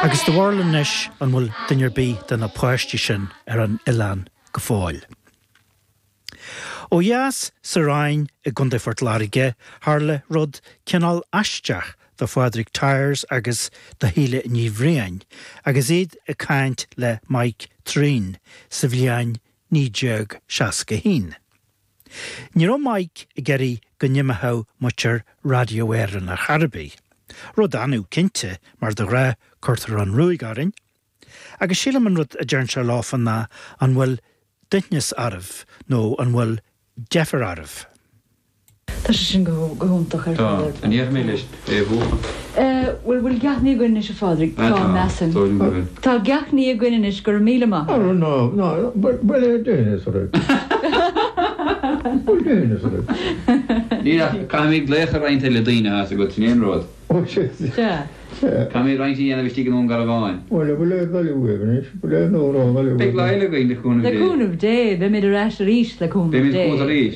Agus do bharúil anois an bhfuil duine ar bith de na páistí sin ar an oileán go fóill. Ó dheas sa Rinn i gContae Phort Láirge tharla rud cineál aisteach do Phádraig Tyers agus do Shíle Ní Bhriain agus iad ag caint le Mike Threane sa bhliain 1961. Ní raibh Mike ag iarraidh go n-imeochadh muintir Radio Éireann ar chor ar bith. Rud annamh cinnte mar de ghnáth cuirtear an ruaig orainn. Agus sílim an rud a deireann sé leofa ná an bhfuil duaithneas oraibh nó an bhfuil deifir oraibh? Tá sé sin go hiontach ar Tá. fad. An ndéarfaidh mé leis é a bhuachan? Bhuel, bhfuil gach ní againn anois, a Phádraig? Tá, Tá, measaim. dóigh liom go bhfuil. Tá gach ní againn anois, go raibh míle maith agat. Ná, ná, bhuel é duaithneas oraibh. Bhfuil duaithneas oraibh? Níl ach caithfimid glaoch ar roinnt eile daoine atá agat, sin é an rud. Ó, sea. Sea. Caithfimid roinnt a dhéanamh istigh i nDún Garbhán. Bhuel, bhfuil aon ghoile uaibh anois? Bhfuil aon amhrán eile uaibh? Beidh lá eile againn, le cúnamh Le Dé. cúnamh Dé, beimid ar ais arís, le cúnamh Beimid Dé. chugat arís.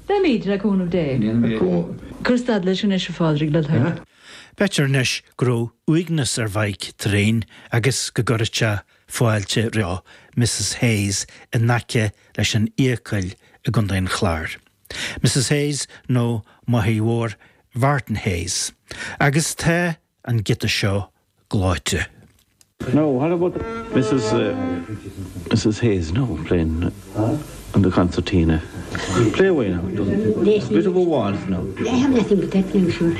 Beimid, le cúnamh Dé. Déanfaimid. Cuir stad leis anois, a Phádraig, le do thoil. B'fhéidir anois go raibh uaigneas ar Mhike Threane agus go gcuirfeadh sé fáilte roimh Mrs Hayes in aice leis an Fhiacail i gContae an Chláir. Mrs Hayes nó máthair mhór Mhartin Hayes. Agus tá an giota seo gleoite. Now, what about Mrs. Mrs Hayes now playing on the concertina? Play away now. Bit of a waltz now. I have nothing but that now, sure.